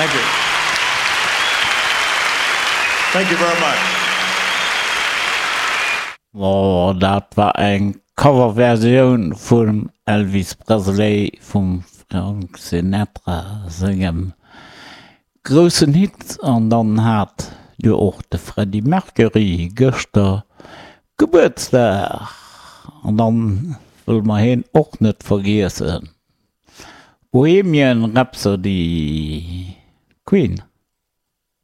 Thank you. Thank you very much. Oh, dat war eng Coverversioun vum Elvis Presley vum Frank Sinatra sengem groussen Hit. An dann hat jo och de Freddie Mercury gëschter Gebuertsdag an dann wëlle mer heen och net vergiessen. Bohemian Rhapsody, Queen.